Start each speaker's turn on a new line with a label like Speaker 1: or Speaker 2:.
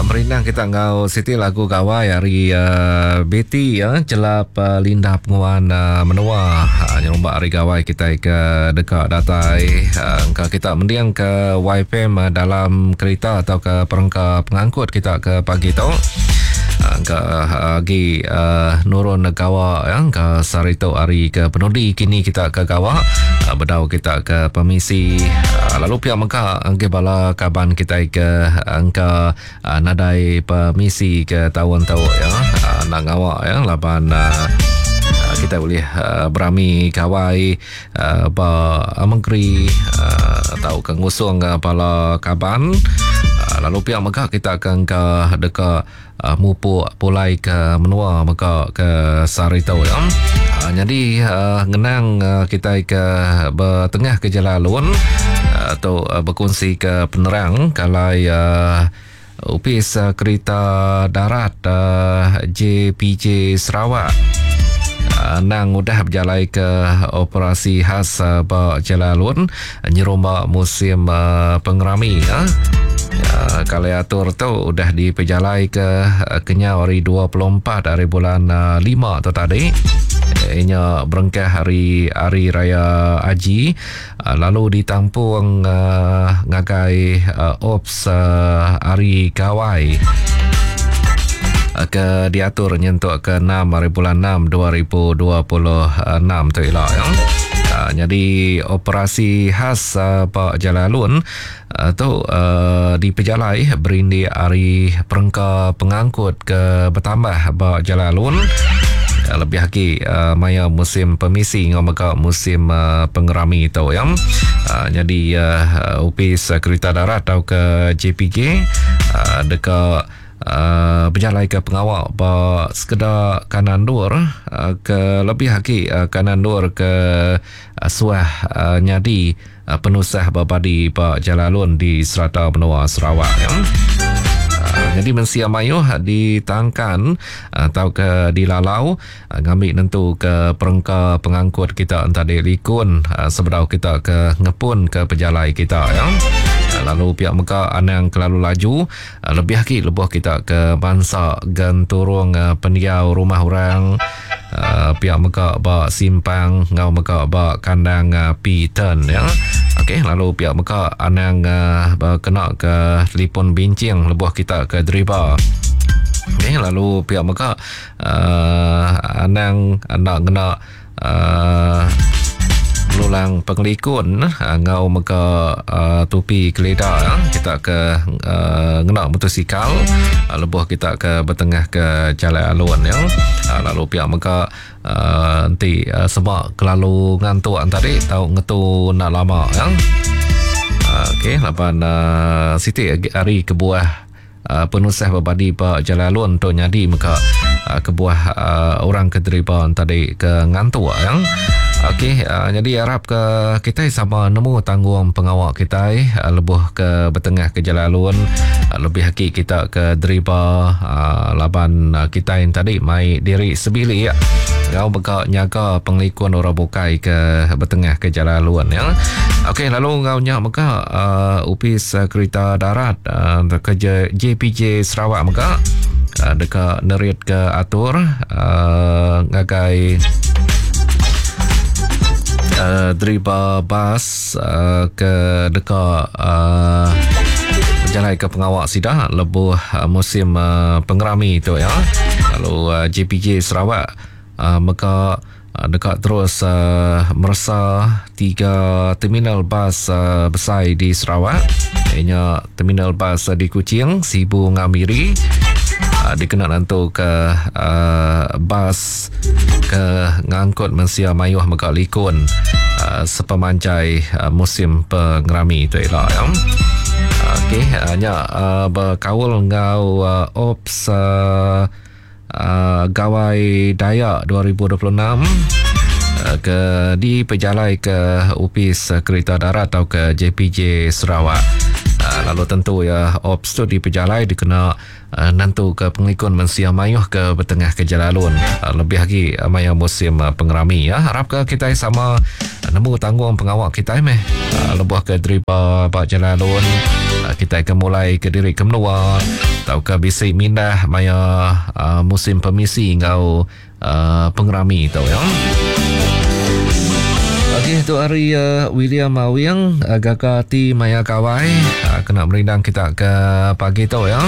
Speaker 1: Merindang kita enggau siti lagu gawai ari uh, Betty ya, Celap uh, Linda Penguan uh, Menua uh, nyerumba hari gawai kita ke deka datai uh, engka kita mending ke YFM uh, dalam kereta atau ke perengka pengangkut kita ke pagi tu. Engka agi uh, nurun gawa ya engka sehari tu hari ke penudi kini kita ke gawa uh, bedau kita ke permisi uh, lalu pia mega engke bala kaban kita ke engka uh, nadai permisi ke taun tu ya uh, nak ngawa ya laban uh, kita boleh uh, berami gawai uh, ba menteri uh, atau ke ngusung uh, bala kaban uh, lalu pia mega kita ke engka deka uh, mupuk pulai ke menua mega ke sehari tu ya. Uh, jadi uh, ngenang uh, kita ke bertengah ke jalan alun uh, tu uh, berkongsi ke penerang kalai uh, Opis uh, Kerita Darat uh, JPJ Sarawak uh, nang udah berjalai ke operasi khas uh, ba jalan alun nyerumba musim uh, pengerami ya. Uh, kali atur tu udah dipejalai ke uh, kenyau hari 24 hari bulan uh, 5 tu tadi. Inya berengkah hari hari raya Haji uh, lalu ditampung uh, ngagai uh, ops uh, hari Gawai ke diatur nyentuk ke 6 hari bulan 6 2026 tu ila ya. Uh, jadi operasi khas uh, Pak Jalalun uh, tu uh, dipejalai berindik hari perengka pengangkut ke bertambah ba Jalalun uh, lebih lagi uh, maya musim permisi ngau mega musim uh, pengerami tu ya. Uh, jadi uh, Opis Kereta Darat atau ke JPJ uh, deka Uh, berjalai ke pengawal ba sekedar kanan dur uh, ke lebih lagi uh, kanan dur ke uh, suah uh, nyadi uh, penusah berbadi ba jalalun di serata benua Sarawak ya. Uh, jadi mensia mayuh ditangkan atau ke dilalau uh, ngambil nentu ke perengka pengangkut kita entah di likun uh, sebedau kita ke ngepun ke pejalai kita ya. Lalu pihak mega anang kelalu laju lebih lagi lebuh kita ke bangsa genturung pendiau rumah orang pihak mega ba simpang ngau mega ba kandang P-turn ya. Okey, lalu pihak mega anang kena ke telefon bincing lebuh kita ke driver. Okey, lalu pihak mega anang nak ngena lulang pengelikun ngau mega tupi kelida kita ke ngena motosikal lebuh kita ke bertengah ke jalan alun ya. Lalu pihak mega enti sebab kelalu ngantuk tadi tau ngetu nak lama ya. Okey, laban siti hari kebuah penusah berbadi ba jalan alun tu nyadi mega kebuah orang ke deriba tadi ke ngantuk ya. Okey, jadi harap ke kita sama nemu tanggung pengawal kita lebuh ke bertengah ke jalan alun lebih lagi kita ke deriba laban kita yang tadi mai diri sebilik ngau mega nyaga pengelikun orang bukai ke bertengah ke jalan alun ya. Okey, lalu ngau nya mega Opis Kereta Darat ke JPJ Sarawak mega deka nerit ke atur ngagai driver bas ke deka berjalai ke pengawal sida lebuh musim pengerami tu ya. Lalu JPJ Sarawak mega deka terus meresa 3 terminal bas besar di Sarawak. Ianya terminal bas di Kuching, Sibu ngau Miri. Dikena nentu ke bas ke ngangkut mensia mayuh mega likun sepemanjai musim pengerami tu ila ya. Okey, nya berkaul ngau ops Gawai Dayak 2026 ke di pejalai ke Opis Kereta Darat atau ke JPJ Sarawak. Lalu tentu ya ops tu di pejalai dikena nentu ke pengikun mensia mayuh ke bertengah ke jalalun lebih lagi maya musim pengerami ya. Harap ke kita sama nemu tanggung pengawal kita meh lebuh ke driver ba jalalun. Kitai ke mulai ke diri ke menua tauka bisi mindah maya musim pemisi enggau pengerami tu ya. Okey tu hari William Awing gaga ati maya gawai kena merindang kita ke pagi tu ya.